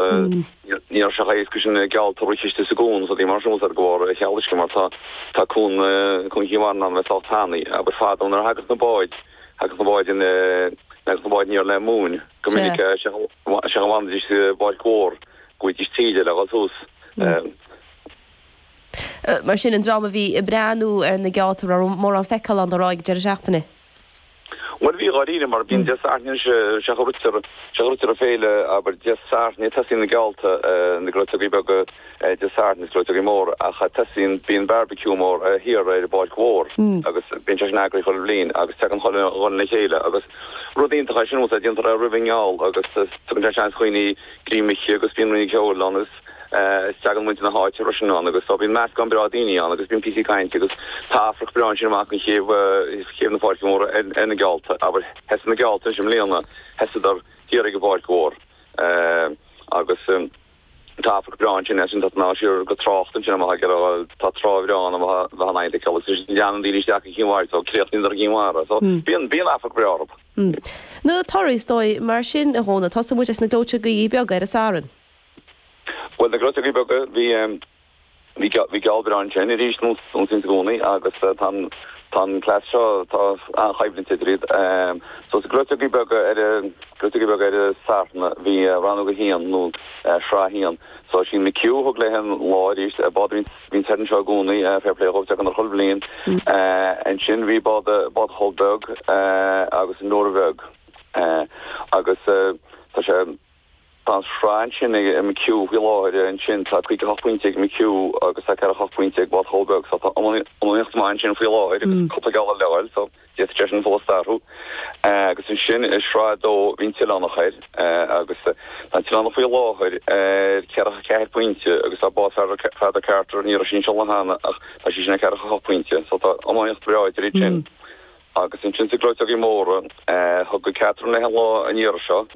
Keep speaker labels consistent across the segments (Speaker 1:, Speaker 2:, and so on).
Speaker 1: Ní raibh sé chomh héasca sin geallta a rith istigh sa gcuan is rudaí mar sin de bharr an cheal uisce mar tá tá cuan cuan Chinn Mhara in ann a bheith sách tanaí. Abair fadó nuair a thagadh na báid thagadh na báid in thagadh na báid aniar le móin go minic sé sé a bhfanfaidís i bPáirc Mhór go bhfaighidís taoille le dhul suas.
Speaker 2: Mar sin an dream a bhí ag breathnú ar na geallta raibh mórán feiceáil ann ar aghaidh deireadh seachtaine.
Speaker 1: Bhuel bhí dháiríre mar bíonn Dé Sathairn anois sé a ritear sé a ritear an féile abair Dé Sathairn tosaíonn na geallta na gleoiteogaí beaga Dé Sathairn is gleoiteogaí móra ach tosaíonn bíonn barbecue mór thiar ar an bPáirc Mhór agus bíonn sé sin eagraithe chuile bhliain agus tagann chuile dhuine le chéile agus rud iontach é sin bhfuil déantar é roimh an ngeall agus tugann sé seans dhaoine greim a ithe agus bíonn rince ceoil ann agus Is tagann muintir na háite freisin ann agus so bíonn meascán breá daoine ann agus bíonn píosaí cainte agus tá afraic breá ansin amach an chéibh, chéibh na Páirce Móire ar na geallta, abair, sheas na geallta anois i mbliana, sheasadar thiar ag an bPáirc Mhór agus tá afraic breá ansin, ansin tá an siar go trácht ansin amach ag tá trá bhreá ann amach bheith an fheicteáil agus leanann daoine isteach go Cinn Mhara so críochnaíonn ar Chinn Mhara so bíonn, bíonn afraic breá orthu.
Speaker 2: Na torthaí is dóigh mar sin a Dhónaill, tosóidh muid leis na gleoiteogaí beaga ar an Satharn.
Speaker 1: Bhuel, na gleoiteogaí beaga, bhí, bhí, bhí geall breá ansin arís, nós is i gcónaí, agus tá an, tá an cleas seo, tá an-choimhlint idir iad. So, sa gleoiteogaí beaga ar an, gleoiteogaí beaga ar an Satharn, bhí rannóg a haon nó sraith a haon. So, sin McHugh a thug léi an lá arís, bád a bhíonn thoir anseo i gcónaí, fair play dhóibh, tagann ar chuile bhliain. Ansin bhí bád, bád Choll Beag agus an Nóra Bheag. Agus tá sé. Tá an sraith ansin ag McHugh faoi láthair ansin. Tá 58 pointe ag McHugh agus tá 48 pointe ag Bád Choll Beag so tá iomaíocht maith ansin faoi láthair agus cúpla geall le dhul so d'fhéadfadh sé sin fós athrú. Agus ansin i sraith 2 bhí an tOileánach air agus tá an tOileánach faoi láthair ar 44 pointe agus tá Bád Pheadar Carter, ní raibh sí anseo cheana ach tá sí sin ar 48 pointe so tá iomaíocht bhreá idir iad sin. Agus ansin sna gleoiteogaí móra, thug an Catherine léi an lá an iarraidh seo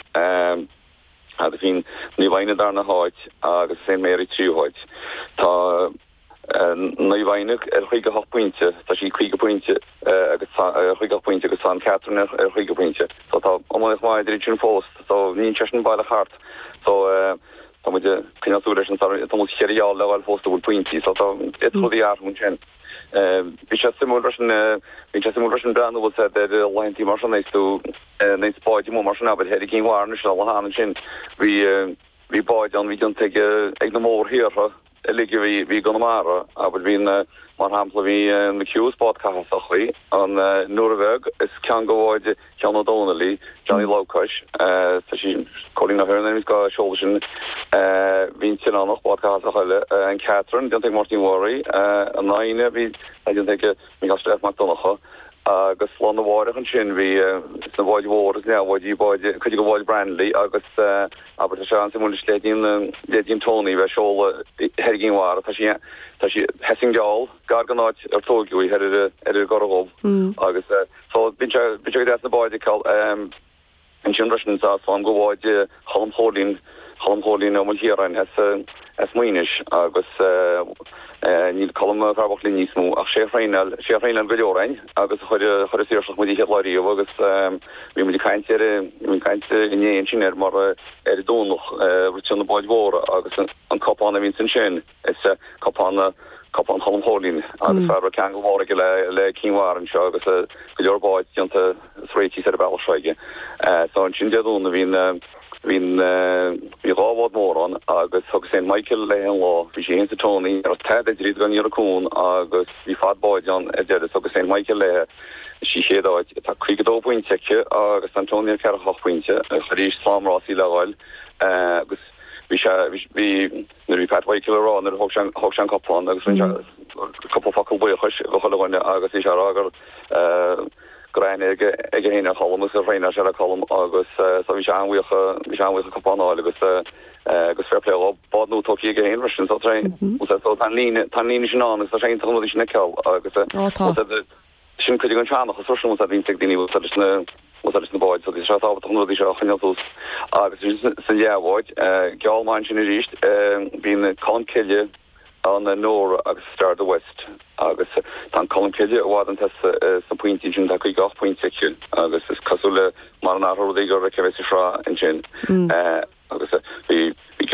Speaker 1: agus bhí Naomh Adhna darna háit agus Saint Mary tríú háit. Tá Naomh Adhna ar 58 pointe, tá sí 50 pointe agus tá ar 58 pointe agus tá an Catherine ar 50 pointe. So tá iomaíocht mhaith idir iad sin fós. So níl sé sin baileach thart. So tá muid ag coinneáil súil leis an tá muid cheithre gheall le dhul fós a bhfuil pointí. So tá d'fhéadfadh rudaí athrú ansin. Bhí sé suimiúil freisin, bhí sé suimiúil freisin breathnú bhfuil a fhios agat ar laethantaí mar sin is tú nuair is báid amuigh mar sin abair thoir i gCinn Mhara anois lá cheana ansin bhí bhí báid ann bhí déanta ag ag na mórthíortha uilig a bhí bhí i gConamara abair bhí na mar shampla bhí McHugh is bád Cathasach í an Nóra Bheag is ceann de bháid Sheán Ó Domhnaill í, Johnny Labhcáis, tá sí, Cóilín Ó hEorna is gá seoladh sin, bhí an tOileánach, bád Cathasach eile, an Catherine, déanta ag Máirtín Mháirí, an Fhoighne, bhí, déanta ag Micheál Steph Mac Donncha, agus lá arna mháireach ansin bhí sna báid mhóra is leathbháid, bhí báid, cuid de bháid Brannelly agus abair tá sé an-suimiúil leis leithéidí leithéidí an Tony bheith ag seoladh thoir i gCinn Mhara, tá sí, tá sí, sheas an geall gar don áit ar tóigeadh í thoir ar ar an gCora Dhubh agus. So, bíonn sé, bíonn sé go deas na báid a fheiceáil. Ansin freisin tá slám de bháid Cholm Chóilín, Cholm Chóilín Ó Maoilchiaráin as, as Muínis agus níl Colm an fear bocht linn níos mó ach sé a thraenáil, sé a thraenáil go leor againn agus a chuir, chuir an Saoirseach muid an chéad lá riamh agus bhí muid ag caint ar, bhí muid ag caint inné ansin air mar ar an Domhnach ritear na báid mhóra agus an cupán a bhíonns ansin. Is cupán cupán Cholm Chóilín agus fear a raibh ceangal mór aige le le Cinn Mhara anseo agus go leor báid déanta is réitithe ar an bealach seo aige. So ansin Dé Domhnaigh bhí an bhí an bhí dhá bhád mór ann agus thug Saint Michael léi an lá. Bhí sí féin is an Tony, ní raibh tada idir iad gan iarraidh cuan agus bhí fad báid ann ar deireadh. So thug Saint Michael léi sí chéad áit. Tá 52 pointe aici agus tá an Tony ar 48 pointe. Arís slám rásaí le dhul agus bhí sé bhí Nuair a bhí Pat Mhichael ag rá nuair a thóg sé thóg sé an cupán agus rinne sé cúpla focal buíochais do chuile dhuine agus bhí sé ag rá gur go raibh aithne aige aige féin ar Cholm agus gur thraenáil sé le Colm agus so bhí sé an-bhuíoch bhí sé an-bhuíoch an cupán a fháil agus agus fair play dhó. Bád nua tógtha aige féin freisin so so tá an líne tá an líne sin ann agus tá sé iontach an rudaí sin a fheiceáil agus
Speaker 2: Ó tá.
Speaker 1: Sin cuid den seanchas freisin úsáid a bhíonns ag daoine úsáid leis na úsáid leis na báid so tá sé tábhachtach na rudaí seo a choinneáil suas agus ansin sa leathbhád geall maith ansin arís bíonn Colmcille an Nóra agus Star of the West agus tá an Colmcille i bhfad chun tosaigh sna pointí ansin tá 58 pointe aici agus is cosúil le mar an athrú rudaí gur aici a bheas an sraith ansin. Agus bhí, bhí.